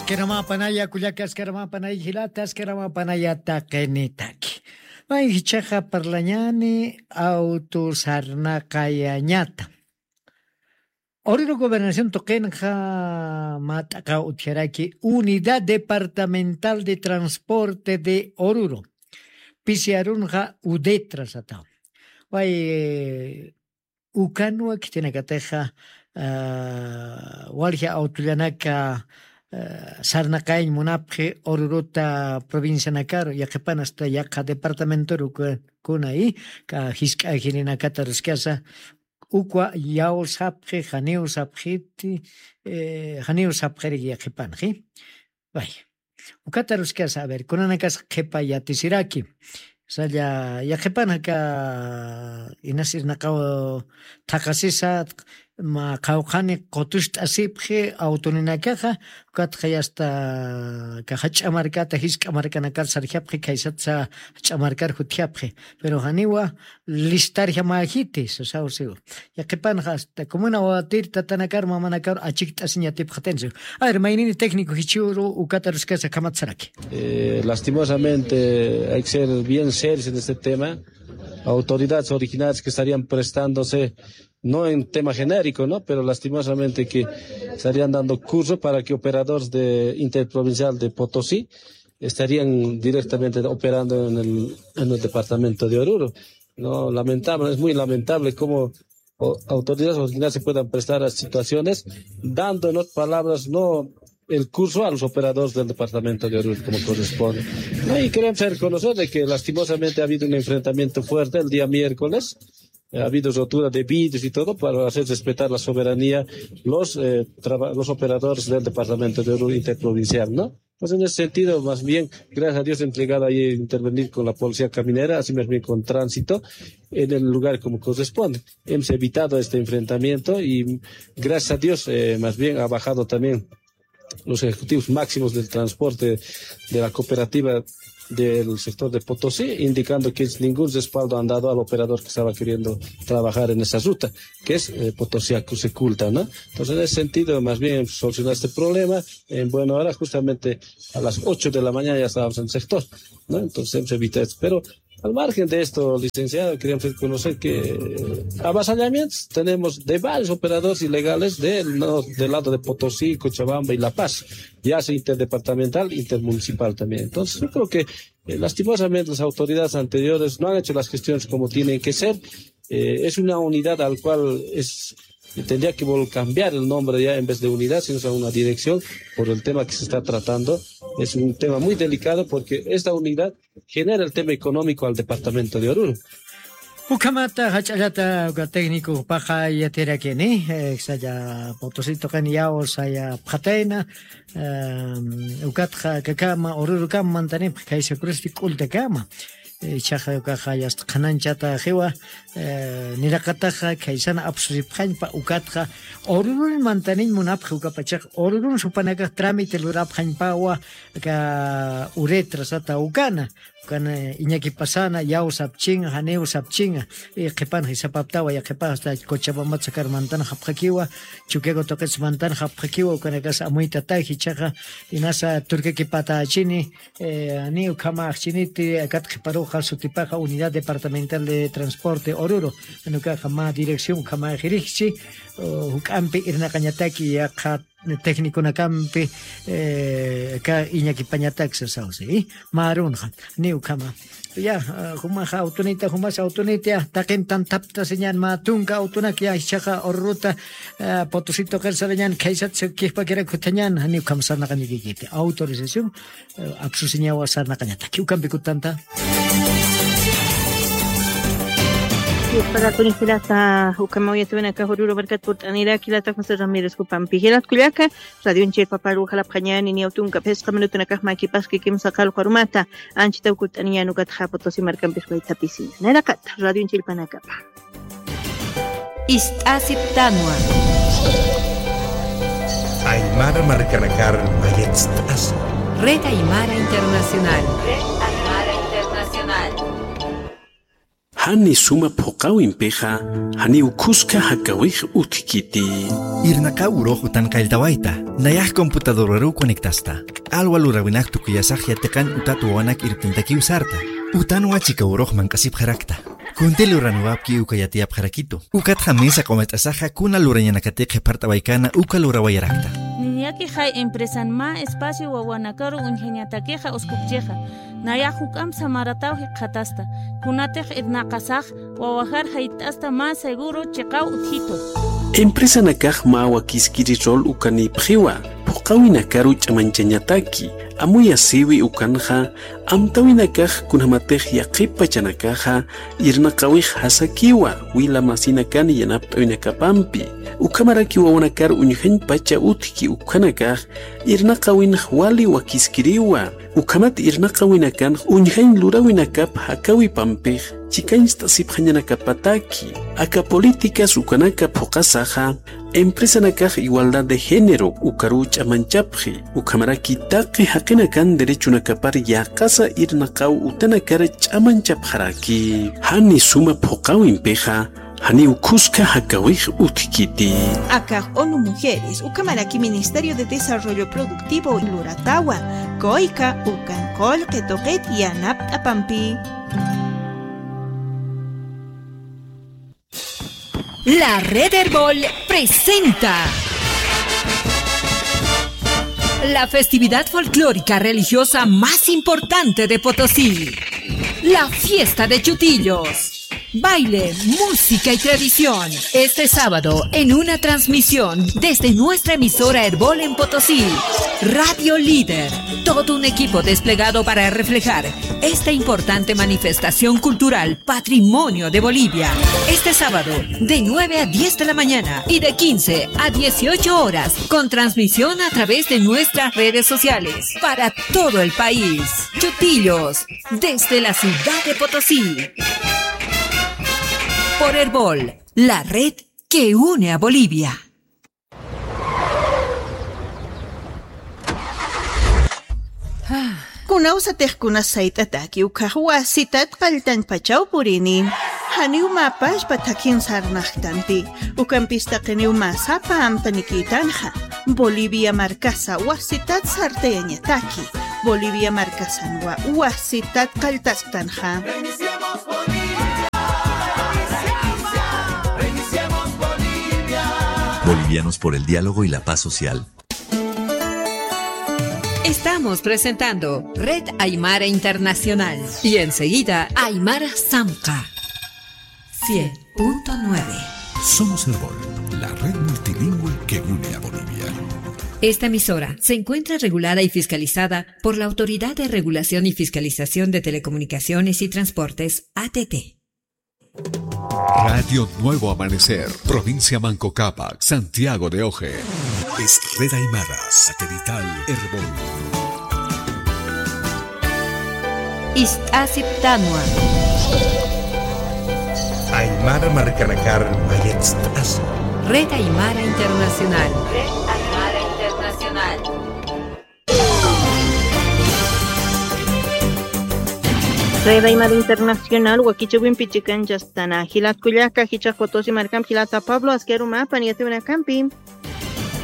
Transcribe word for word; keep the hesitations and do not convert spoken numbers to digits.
Askaramapanaya kullakas, askaramapanaya jilatas, askaramapanaya taqinitaki. May jichaqa parlañani auto sarnaqayañata. Oruro gobernación tuqinqa mat'aqaw utjaraki Unidad Departamental de Transporte de Oruro. Pisiarunqa udetra sataw. Way ukanwa khitinakatixa walji awtullanaka sarnaqayañ munapxi ururuta provincianakaru yaqhipan asta yaqha departamentoru kuna i jisk'a jirinakata ruskasa ukwa yaw sapxi janiw sapxiti janiw sapxiriki yaqhipanxi. Vaya. Ukata ruskasa a ver kunanakas qhipa yatisiraki. Salla yaqhipanaka inasirnaqaw thaqasisa ma qhawqhani qutust'asipxi awtuninakaxa. Ukatxa yasta kaxa ch'amarkata jisk'a markanakar sarjapxi khaysatsa ch'amarkar jutjapxi. Pero janiwa listarjamäjiti sasawsiw. Yaqhipanxa asta comuna watir tatanakar mamanakar achikt'asiñatipxatinsi. A ver maynini técnico jichhüru ukata ruskasa kamatsaraki. Lastimosamente hay que ser bien serios en este tema. Autoridades originarias que estarían prestándose no en tema genérico no pero lastimosamente que estarían dando curso para que operadores de interprovincial de Potosí estarían directamente operando en el departamento de Oruro. No lamentable es muy lamentable como autoridades originarias se puedan prestar a situaciones dando en otras palabras no el curso a los operadores del departamento de Oruro como corresponde. Y queremos reconocer de que lastimosamente ha habido un enfrentamiento fuerte el día miércoles. Ha habido rotura de vidrios y todo para hacer respetar la soberanía los los operadores del departamento de Oruro interprovincial no. Pues en ese sentido más bien gracias a Dios entregado ahí intervenir con la policía caminera así más bien con tránsito en el lugar como corresponde. Hemos evitado este enfrentamiento y gracias a Dios más bien ha bajado también los ejecutivos máximos del transporte de la cooperativa del sector de Potosí, indicando que ningún respaldo han dado al operador que estaba queriendo trabajar en esa ruta, que es Potosí a Cruceculta, ¿no? Entonces en ese sentido más bien solucionar este problema en buena hora justamente a las ocho de la mañana ya estábamos en el sector, ¿no? Entonces hemos evitado esto. Pero al margen de esto licenciado queríamos reconocer que avasallamientos tenemos de varios operadores ilegales del lado de Potosí, Cochabamba y La Paz, ya sea interdepartamental, intermunicipal también. Entonces yo creo que lastimosamente las autoridades anteriores no han hecho las gestiones como tienen que ser. Es una unidad al cual es tendría que cambiar el nombre ya en vez de unidad sino sea una dirección por el tema que se está tratando. Es un tema muy delicado porque esta unidad genera el tema económico al departamento de Oruro. Ukhamata jach'allata uka técnico paqa yatirakini. Salla potosito qani yaw saya phatayna ukatxa kakama ururukama mantanipxa kaysa crusti k'ultakama. Ichaxa ukaxa yasta qhananchata jiwa niraqataxa khaysana apsusipxañpa ukatxa ururun mantaniñ munapxi ukapachaxa ururun supanakax trámite lurapxañpawa. Aka uretra sata ukana ukana iñakipasana yaw sapchinga janiw sapchinga. Qhipanxa isapaptawa yaqhipax asta cochabambat sakar mantan japxakiwa. Chukiago tuqits mantan japxakiwa ukanakas amuytataji ichaxa inasa turkakipatächini. Ni ukhama ajchiniti akat qhiparuxa sutipaxa unidad departamental de transporte ururu. Nukaxa mä dirección ukhama jirijchi juk'ampi irnaqañataki yaqha tecniconakampi aka iñakipañatak sasawsi. Mä arunxa ni ukhama ya jumaxa awtunita jumas awtunita taqin tanthaptasiñan mä tunka awtunak ya ichaxa ururuta potosito qir sarañan khaysat kijpakirak juthañan ni ukham sarnaqañakikiti autorización. Apsusiñawa sarnaqañataki ukampi kutanta. Yusparakuni jilata ukhama uyatiwinaka ururu markat purt'aniraki jilata José Ramírez jupampi jilat kullaka. Radionchir paparu jalapxañani niyaw tunka phisqa minutunakax makipaski kimsa qalqu arumata. Anchitaw kut'aniñan ukatxa potosi markampis waytapisiña nayraqata radionchir panakapa. Ist'asiptanwa. Aymara markanakar mayatst'asa. Red Aymara Internacional. Red Aymara Internacional. Jani suma phuqawimpixa, janiw khuska jakawix utjkiti. Irnaqaw urux utan qalltawayta, nayax computadoraruw conectasta. Alwa luräwinak tukuyasax yatiqan utat wawanak irptintakiw sarta. Utanwa chika urux manq'asipxarakta. Kunti luraniwapki uka yatiyapxarakitu. Ukatxa mesa q'umat'asaxa kuna lurañanakatix qhipart'awaykana uka lurawayarakta. Niñakixay empresan mä espacio wawanakaru uñjañatakixa uskupchixa. Nayax juk'amp samarataw jikxatasta. Kunatix irnaqasax wawajar jayt'asta mä seguro chiqaw utjitu. Empresanakax mä wakiskiri rol ukanïpxiwa, phuqawinakaru ch'amañchañataki, amuyasïwi ukanxa, amtäwinakax kunjamatix yaqhip pachanakaxa, irnaqawix jasakiwa, wila masinakan yanapt'äwinakapampi. Ukhamaraki wawanakar uñjañ pacha utjki ukhanakax, irnaqawinx wali wakiskiriwa. Ukhamat irnaqawinakanx uñjañ luräwinakap jakawipampix chikañcht'asipxañanakapataki. Aka políticas ukanaka phuqasaxa, empresanakax igualdad de género ukaruw ch'amañchapxi, ukhamaraki taqi jaqinakan derechonakapar yäqasa irnaqaw utanakar ch'amañchapxaraki. Jani suma phuqawimpixa, janiw khuska jakawix utjkiti. Akax ONU Mujeres, ukhamaraki Ministerio de Desarrollo Productivo luratawa, COICA, ukan qullqi tuqit yanapt'apampi. La Red Erbol presenta la festividad folclórica religiosa más importante de Potosí, la fiesta de Chutillos. Baile, música y tradición. Este sábado, en una transmisión desde nuestra emisora Erbol en Potosí, Radio Líder, todo un equipo desplegado para reflejar esta importante manifestación cultural, patrimonio de Bolivia. Este sábado, de nueve a diez de la mañana y de quince a dieciocho horas, con transmisión a través de nuestras redes sociales, para todo el país. Chutillos, desde la ciudad de Potosí. Por Erbol, la red que une a Bolivia. Kunawsatix kunas sayt'ataki ukhax wasitat qalltañpachaw purini. Janiw mä pachpa thakhin sarnaqtanti. Ukampis taqiniw mä sapa amtanikïtanxa. Bolivia markasa wasitat sartayañataki. Bolivia markasanwa wasitat qalltasktanxa. Bolivianos por el diálogo y la paz social. Estamos presentando Red Aymara Internacional y enseguida Aymara Samka. Cien punto nueve. Somos Erbol, la red multilingüe que une a Bolivia. Esta emisora se encuentra regulada y fiscalizada por la Autoridad de Regulación y Fiscalización de Telecomunicaciones y Transportes, A T T. Radio Nuevo Amanecer, provincia Manco Cápac, Santiago de Oje. Es Red Aymara, satelital Erbol. Ist'asiptanwa. Aymara markanakar mayatst'aswa. Red Aymara Internacional. Red Aymara Internacional. Red Aymara Internacional, wakichäwimpi chikanchasktana. Jilat kullaka, jichhax Potosí markampi jilata Pablo, aski arumapan yatiyäwinakampi.